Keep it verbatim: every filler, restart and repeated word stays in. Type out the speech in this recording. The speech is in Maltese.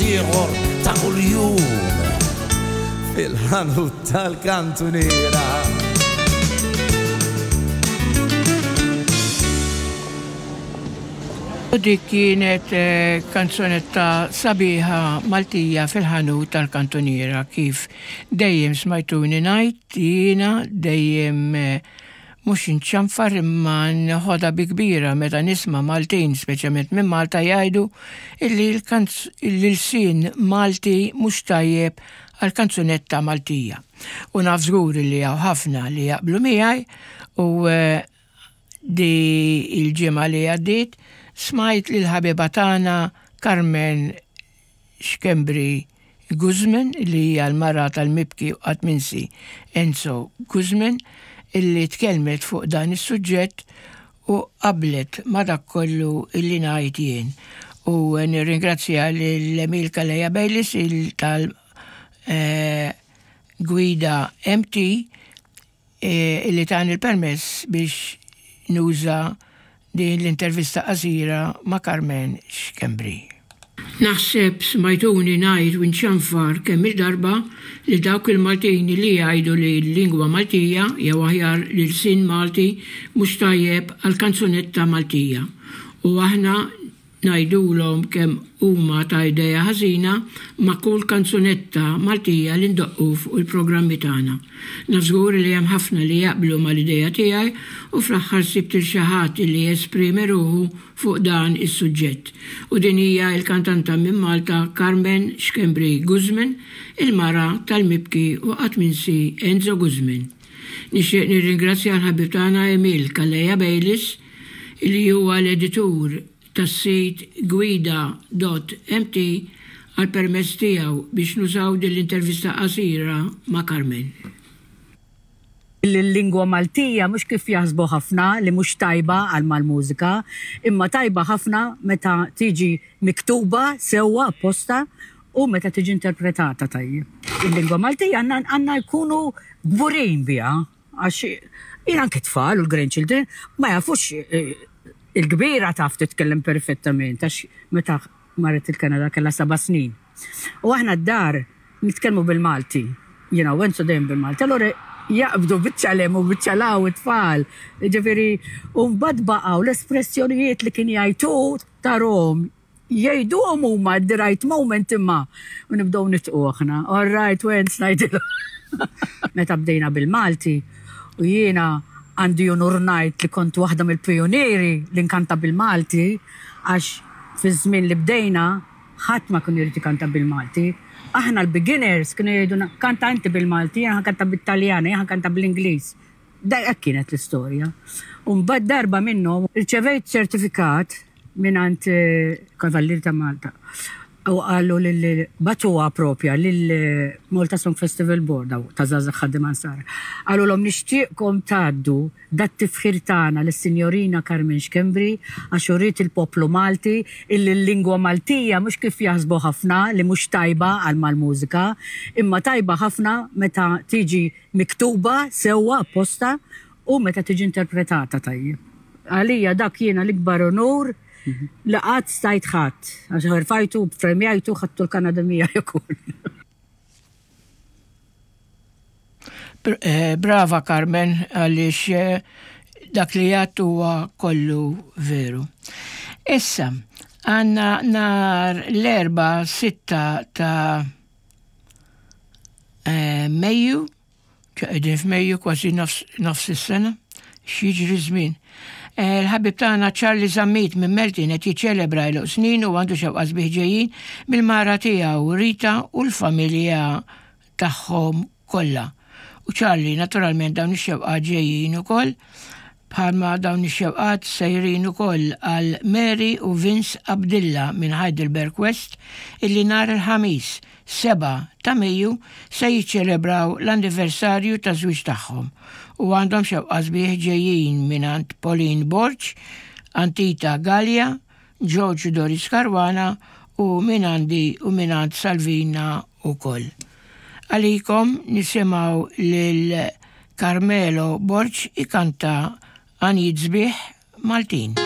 ħaddieħor ta' kuljum fil-ħanut tal-kantuniera. U dik kienet eh, kanzunetta sabiħa Maltija fil-ħanut tal-kantuniera, kif dejjem smajtuni ngħid jiena dejjem eh, mhux inċanfar imma nħodha bi kbira meta nisma' Maltin, speċjalment minn Malta, jgħidu illi l-ilsien Malti mhux tajjeb għal kanzunetta Maltija. U naf żgur li hawn ħafna li jaqblu miegħi u eh, di il-ġimgħa li għaddiet smajt lil ħabiba tagħna Carmen Schembri Guzman, li hija l-mara tal-mibki u qatt minsi Enzo Guzman, illi tkellmet fuq dan is-suġġett u qablet ma dak kollu illi ngħid jien. U nirringrazzja lil Emil Calleja Bayliss il tal eh, Gwida M T eh, illi tani il-permess biex nuża din l-intervista qasira ma' Carmen Schembri. Naħseb smajtuni ngħid u nċanfar kemm il-darba li dawk il-Maltin li jgħidu li l-lingwa Maltija jew aħjar l-ilsien Malti mhux tajjeb għal kanzunetta Maltija. U aħna ngħidulhom kemm huma ta' idea ħażina ma' kull kanzunetta Maltija li ndoqqu fuq il-programmi tagħna. Naf żgur li hemm ħafna li jaqblu mal-idea tiegħi u fl-aħħar sibt il xi ħadd li jesprimi ruħu fuq dan is-suġġett. U din hija l-kantanta minn Malta Carmen Schembri Guzman, il-mara tal-mibki u qatt minsi Enzo Guzman. Nixtieq nirringrazzja l-ħabib tagħna Emil Calleja Bayliss, li huwa l-editur tas-sit gwida punt M T, għal permess tiegħu biex nużaw din l-intervista qasira ma' Carmen. Il-lingwa Maltija mhux kif jaħsbu ħafna li mhux tajba għal mal-mużika, imma tajba ħafna meta tiġi miktuba sewwa apposta u meta tiġi interpretata tajjeb. Il-lingwa Maltija għandna jkunu kburin biha, għax jien anke tfal u l-grandchildren ma jafux eh, il-kbira taf titkellem perfettament, għax meta marret il-Kanada kellha seba' snin. U aħna d-dar nitkellmu bil-Malti, jiena u Enzo dejjem bil-Malti. Allora jaqbdu biċċa 'l hemm u biċċa 'l hawn it-tfal. Ġifieri, u mbagħad baqgħu l-espressjonijiet li kien jgħidu tarahom jgħiduhom huma at the right moment, imma u nibdew nidħku aħna. "All right, Wenz," ngħidilhom. Meta bdejna bil-Malti u jiena għandi unur ngħid li kont waħda mill-pionieri li nkanta bil-Malti, għax fi żmien li bdejna ħadd ma kien irid ikanta bil-Malti. Aħna l-beginners kienu jgħidu, "Kanta inti bil-Malti, jiena kanta bit-Taljan, jiena kanta bl-Ingliż." Da hekk kienet l-istorja. U mbagħad darba minnhom irċevejt ċertifikat mingħand eh, Kavallier ta' Malta. U qalu lil bagħtuha propja lil Malta Song Festival Board daw ta' Żgħażagħ Ħaddiema Nsara. Qalulhom, "Nixtieqkom tgħaddu dat-tifħir tagħna lis-Sinjorina Carmen Schembri għax uriet il-poplu Malti illi l-lingwa Maltija mhux kif jaħsbu ħafna li mhux tajba għal mal-mużika, imma tajba ħafna meta tiġi miktuba sewwa apposta u meta tiġi interpretata tajjeb." Għalija dak jiena l-ikbar onur li qatt stajt ħadd, għax rfajtu, premjajtu, ħadtu l-Kanada miegħi ukoll. Eh, brava Carmen, għaliex eh, dak li għedt huwa kollu veru. Issa, għandna nhar l-Erbgħa sitta ta' eh, Mejju, qegħdin f'Mejju, kważi nofs is-sena, x'jiġri żmien. Il-ħabib tagħna Charlie Zammit minn Meltin qed jiċċelebra għeluq snin u għandu xewqat sbieħ ġejjin mill-mara tiegħu Rita u l-familja tagħhom kollha. U Charlie, naturalment, dawn ix-xewqat ġejjin ukoll, bħalma dawn ix-xewqat sejrin ukoll għal Mary u Vince Abdilla minn Heidelberg West, illi nhar il-Ħamis seba' ta' Mejju se jiċċelebraw l-anniversarju ta' żwieġ tagħhom u għandhom xewqa sbieħ ġejjin mingħand Pauline Borg, Antita Gallia, George Doris Caruana u mingħandi u mingħand Salvina ukoll. Għalikom nisimgħu lil Carmelo Borg ikanta għanjiet sbieħ Maltin.